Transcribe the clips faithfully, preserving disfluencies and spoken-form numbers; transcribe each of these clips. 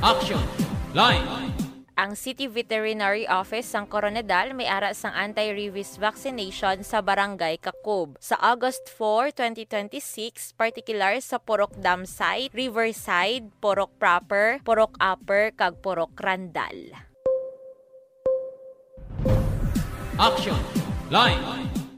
Action Line. Ang City Veterinary Office sang Koronadal may ara sang anti-rabies vaccination sa Barangay Kakob sa August four, twenty twenty-six, partikular sa Purok Dam Site, Riverside, Purok Proper, Purok Upper, kag Purok Randal. Action Line.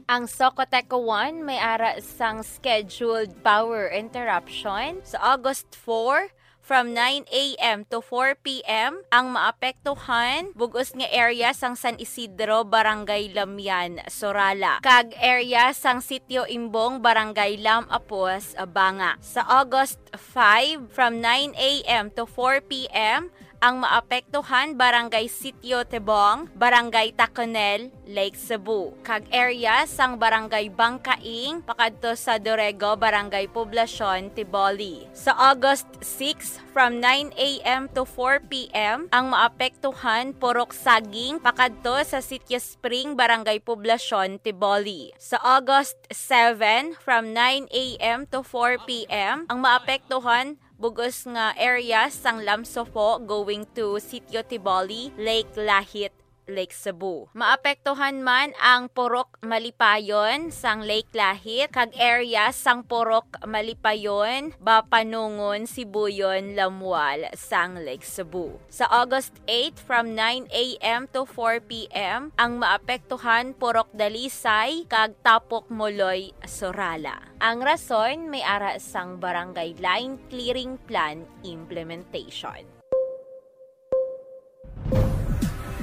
Ang Socoteco one may ara sang scheduled power interruption sa August four from nine a.m. to four p.m. Ang maapektuhan bug-os nga area sang San Isidro, Barangay Lamian, Sorala, kag area sang Sitio Imbong, Barangay Lam Apos, Banga. Sa August five, from nine a.m. to four p.m., ang maapektuhan Barangay Sitio Tibong, Barangay Taconel, Lake Cebu, kag area sang Barangay Bangkaing pakadto sa Dorego, Barangay Poblacion, Tiboli. Sa August six, from nine a.m. to four p.m., ang maapektuhan Purok Saging pakadto sa Sitio Spring, Barangay Poblacion, Tiboli. Sa August seven, from nine a.m. to four p.m., ang maapektuhan bug-os nga area sang Lamsofo going to Sitio Tiboli, Lake Lahit, Lake Cebu. Maapektuhan man ang Purok Malipayon sang Lake Lahit kag area sang Purok Malipayon, Bapanungon, Sibuyon, Lamual sang Lake Cebu. Sa August eight, from nine a.m. to four p.m., ang maapektuhan Purok Dalisay kag Tapok Moloy, Sorala. Ang rason may ara sang Barangay Line Clearing Plan implementation.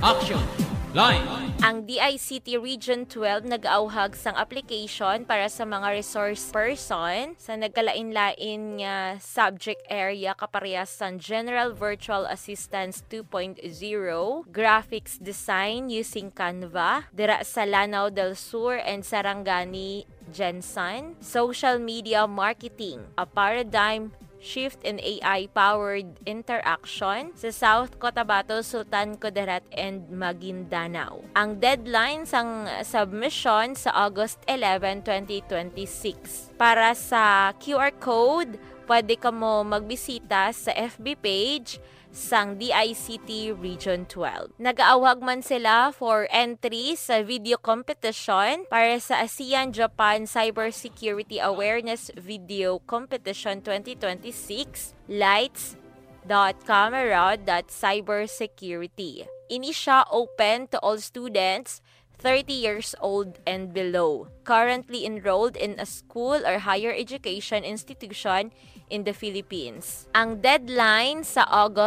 Action Line. Ang D I C T Region twelve nag-auhag sang application para sa mga resource person sa nagkalain-lain nga subject area kaparehas sang General Virtual Assistance two point zero, Graphics Design using Canva, dira sa Lanao del Sur and Sarangani, Gensan, Social Media Marketing, a paradigm shift in A I-powered interaction sa South Cotabato, Sultan Kudarat, and Maguindanao. Ang deadline sang submission sa August eleven, twenty twenty-six. Para sa Q R code, pwede kamo magbisita sa F B page sang D I C T Region twelve. Nagaawhag man sila for entry sa video competition para sa ASEAN-Japan Cybersecurity Awareness Video Competition twenty twenty-six, lights dot camera dot cybersecurity. Ini sia open to all students thirty years old and below, currently enrolled in a school or higher education institution in the Philippines. Ang deadline sa August